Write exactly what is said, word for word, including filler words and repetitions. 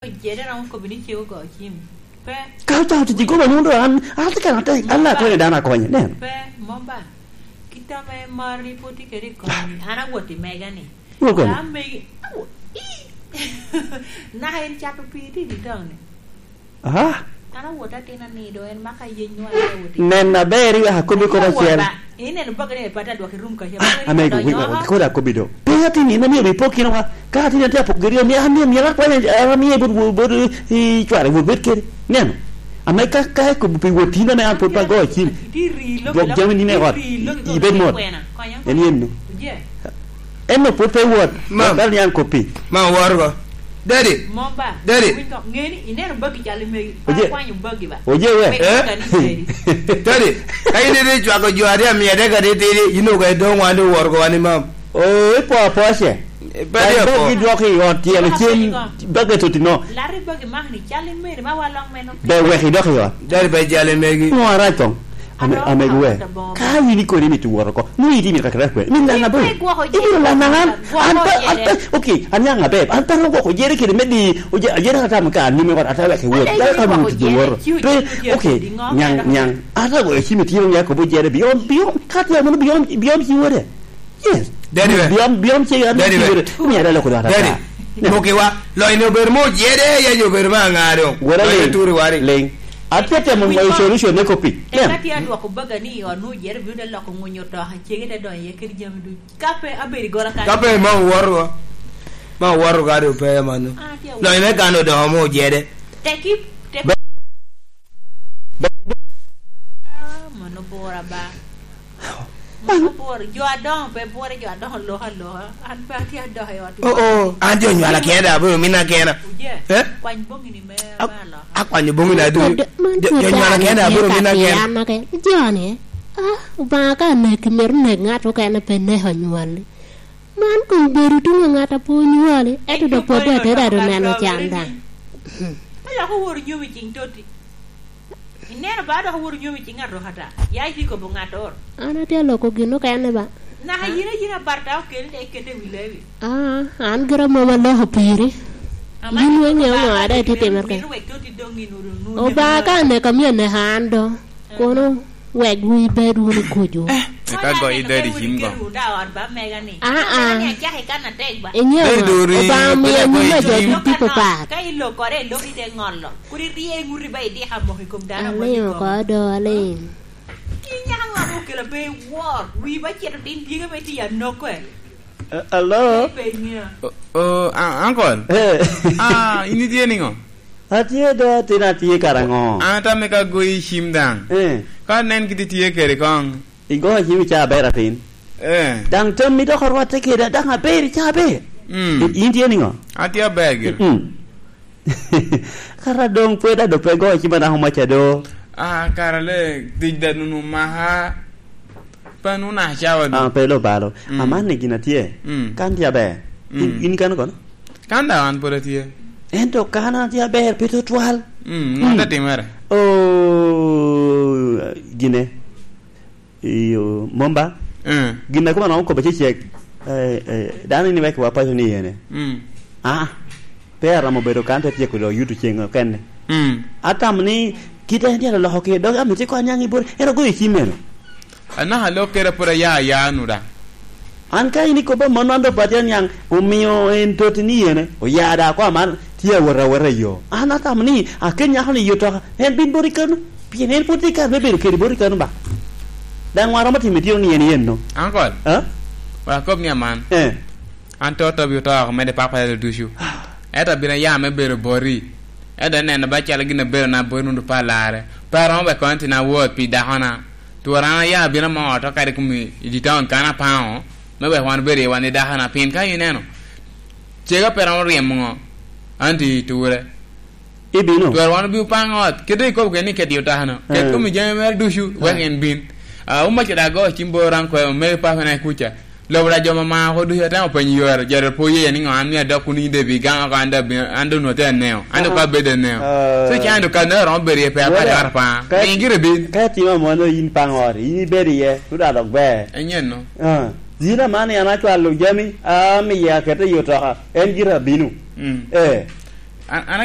Jere romo kobo ni cego go cim. Pe. Ka ocako tic i koma, nwoŋo doŋ an, an atye kene atek, an daŋ akonyo dano akonye. Nen. Pe, mom ba. Kit ame mari pwod tye kede i komi, an awot i mega ni. Wot kono. Ka megi, awo-, i! Naka en cato pii tye i dye taun ni. Aha. An awot atin anido, en maka yeny nwa awot i. Nen aber, iwek akobi kop acel. Ineno bagge ni, "Pata, dwok irum kaca." Ah, amego, wi, wi, kodi akobbi do. Pe atin ni, amio bi pok kino wa. Ka atin ni atye apok giri, amio, amio, amio, akwanya, amio, bot, bot, bot, i cware, wot bed kede. Neno. Ame ka, ka ikobo pi wot tin ame an pwod pe agoyo cim. Dwok jami ni me ot. Ibed mot. En yen no. En no pwod pe wot. Mam. Dal ni an koppi. Ma woro go. Daddy. Mom ba. Daddy. Winy ko, ngeni, ineno bagi calo megi. Oje. Akwanyo bagi ba. Oje we. Wek bagi ni megi. Daddy, ka in ite cwako jo aryo amia dek atitidi, in oga idong wan iworo go wan imam. Oo, ipo apoce. Eh, bagi apo. Bagi dwoko i ot tyelo cen, bagi totino. Lari bagi mak ni calo imeri ma walok meno. Be wek idok i ot. Daddy, be jale megi. Ngo arac kong? Ame-, amego we. Ka in ikoni ni tuworo ko, nwoŋo in itye mito kakere kwe. Min daŋ abor. Ibiro lana an. An pe, an pe, okay, an nyaŋ aber. An pe ro gwoko jere kede me di, oje-, ajere ka tam ka an nyime ot, ata wek iwot. Dano ka nwoŋo tutu woro. Pe, okay, nyaŋ, nyaŋ. Ata goyo cim itino ni akobo jere beyond, beyond, ka tye mono beyond, beyond ci wode. Yes. Daddy we. Beyond, beyond ci an ci wode. Daddy we. Umi ada loko dwata. Daddy. Mukiwa, lony ni obedo mo jere, ya jo obedo ma aŋa doŋ. Wala lony ling. Turi wari. Ling. Atye temo ŋoyo solution ne kopi. Eka tye adwoko baga ni i ot nwoŋo jere bino te loko ŋunyo otoka, cege te donyo iye kede jami ducu. Ka pe abedo i gola kan. Ka pe ma owoto, ma owoto ka do pe mano. Ah, tye awoto. Lony me kan odoko mo jere. Teki, teki. Be-, be-, Ah, mano bura ba. Mano bura. Jo adoŋo pe bura, jo adoŋo loko aloka. An pe atye adok i ot. Oh, oh. An jo nywala kena, abiro mina kena. Uje. Eh? Kwany boŋi ni me, a-, me aloka. Akwanyo boŋi na ducu. Jo, jo nywala kena, abiro mina kena. An ake, jo ni, ah, Obaŋa ka aneki, myero nek ŋat okene pe neko nywali. Man kong bedo tuŋ a ŋat a pe onywali, ento dok pwod atera ado neno can daŋ. Pe lok oworo nyomi ciŋ toti. Ineno ba, dok oworo nyomi ciŋ aroka ata. Ya itye kobo ŋattoro. An atye aloko gin okene ba. Naka yin a yin abarta okeli te ikete i wi lewi. Ah, an gira mom aloko piri. Yin weng ŋeo ŋo ada itye timere kene. Obaŋa ka aneko, amio aneko an do. Kono wek wun ibed wunu kucu. Eh, eka goyo dadi cim go. Aa. Iŋeo ŋo? Obaŋa omio nyim a jo ducu tipo pat. Ka ilokore, ilok ite ŋolo. Kur irie ŋuti ba idiko amoko i kom dano. Aliŋ oko do, aliŋ. In nyaka ŋo ame okelo pe iwor? Wi ba cito tin dyegi ame itye anoko e. Eh, hello? Pe iŋeo. Oh, oh, ah, uncle. Eh. Ah, in itye niŋo? Atye do, atin atye kara ŋo? An atamo ka goyi cim daŋ. Eh. Ka nen kit itye kede koŋ. Igoyo cim ica aber atin. Eh. Daŋ tammi dok orwatte keda, daŋ aber ica aber. Mm. I-, in tye niŋo? Atye aber gire. Mm-mm. Kara doŋ pwod ado pe goyo cim anaka omaca do. Ah, kara le tic da nunu maka. Pe nunu acawa do. Ah, pe lo balo. Mm. Aman ni gin atye. Mm. Kan tye aber. In, mm, in kano kono? Kan daŋ an pwod atye. Ento kan an atye aber, pe tutwal. Mm, ŋo te timere? Oh, gine. Iyo, mom ba? Eh. Gin a koma nongo okobo cecek. Eh, eh, dano ni wek wa paco ni yene. Mm. Ah, pe aromo bedo kan te tyeko dok yuto ceng okene. Mm. Atamo ni kit en tye aloko kede, dok amito iko aniaŋ i bor, en ogoyo cim meno. Anaka lok kede pwod aya aya nu daŋ. An ka in ikobo amanno, an dok pe atye aniaŋ, omio en toti ni yene, oya da ko aman, tye awot awota i yo. An atamo ni akel nyako ni i otoka, en bin boti kano, pien en pwod tye kare me bedo kede boti kano ba. Daŋ wan romo timo itino ni en yen no. Uncle, ah? Wek akob ni aman. Eh. An to tobi oto oko mede papa yalo ducu. Ento abino ya me bedo boti. Ento ineno ba calo gin abedo na boti nundo pa larre. Pe aromo wek kono tin awot pi dakona. Twara an aya abino amo ot okati i kom i, i town kan apaŋo, me wek wan obed iye wan i dakona, pien ka ineno, cega pe romo ryemo ŋo, an tye i ture. Ibino. Twara wan obino paŋ ot, kede ikobo kede ni kede otakano, ket, eh, kom i jami mere ducu, wek, eh, en bin. Ah, umaca da ago cim bor an kwe, omego papana i kuca. Lobo da jo mama oko ducu atemo penyo yore, jo da pe oye ni ŋo an mio adok kun in de bi gang oko, an da bi, an da onwoŋo atye aneo. An da, aha, pe abedo aneo. Ah. So, can do kan da romo bedo iye pe, wala, apar, apar pa. Ka, miŋ gire bin. Ka itimo amono in paŋ ot, in ibedo iye, tuda dok ber. Enyen no. Ah. Yin aman ni an acwalo jami, amiyo akete i otoka, en gire abino. Mm. Eh. An, an